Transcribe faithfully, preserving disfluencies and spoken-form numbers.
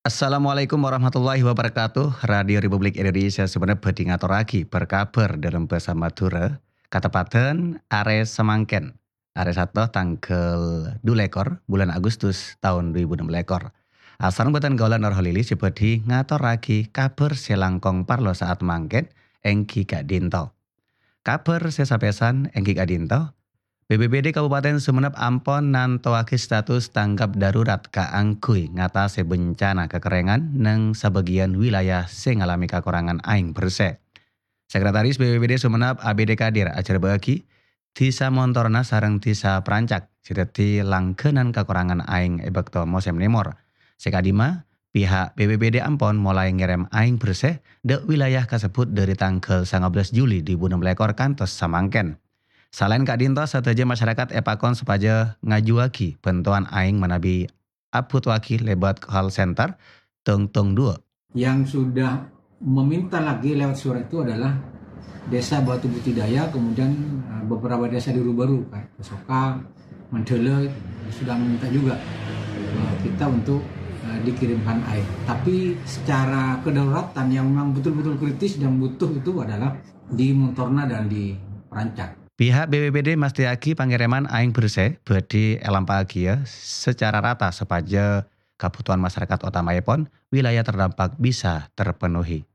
Assalamualaikum warahmatullahi wabarakatuh. Radio Republik Indonesia Sumenep bhâdhi ngatorraghi berkabar dalam bahasa Madura, kateppadan arè samangkèn, arè Sabtu tangghâl du lèkor bulân Agustus taon du èbu ennem lèkor. Asareng bhâdhân kaulâ Nur Holili sè bhâdhi ngatorraghi kabhâr sè langkong parlo saat mangkèn, èngghi ka'dinto. Kabhâr sè sapèsan èngghi ka'dinto, B P B D Kabupaten Sumenep ampon nantowaghi status tanggap darurat kaangghuy ngatasè bencana kakerrèngan neng sabâgiyân wilayah sè ngalamè kakorangan aèng bersè. Sekretaris B P B D Sumenep A B D Kadir ajhârbâ'âghi, Dhisa Montorna sareng Dhisa Prancak sè dhâddhi langghânan kakorangan aèng è bâkto mosèm nèmor. Sè ka'dimma, pihak B P B D ampon molaè ngèrèm aèng bersè dâ' wilayah kasebbhut dhâri tangghâl sangabellâs Juli du èbu ennem lèkor kantos samangkèn. Salaèn ka'dinto, sadhâjâ masyarakat èpakon sopajâ ngajuwâghi bhântowan aèng manabi abhutoaghi lèbât call center tong tong duwâ'. Yang sudah meminta lagi lewat surat itu adalah Desa Batu Putih Daya, kemudian, eh, beberapa desa di Rubaru, kayak Pesoka, Mandala, sudah meminta juga, eh, kita untuk, eh, dikirimkan air. Tapi secara kedaruratan yang memang betul-betul kritis dan butuh itu adalah di Montorna dan di Prancak. Pihak B P B D mastèyaghi pangèrèman aèng bersè bhâdhi èlampa'aghiyâ sacara rata sopajâ kabhutowan masyarakat otamaèpon wilayah terdampak bisa terpenuhi.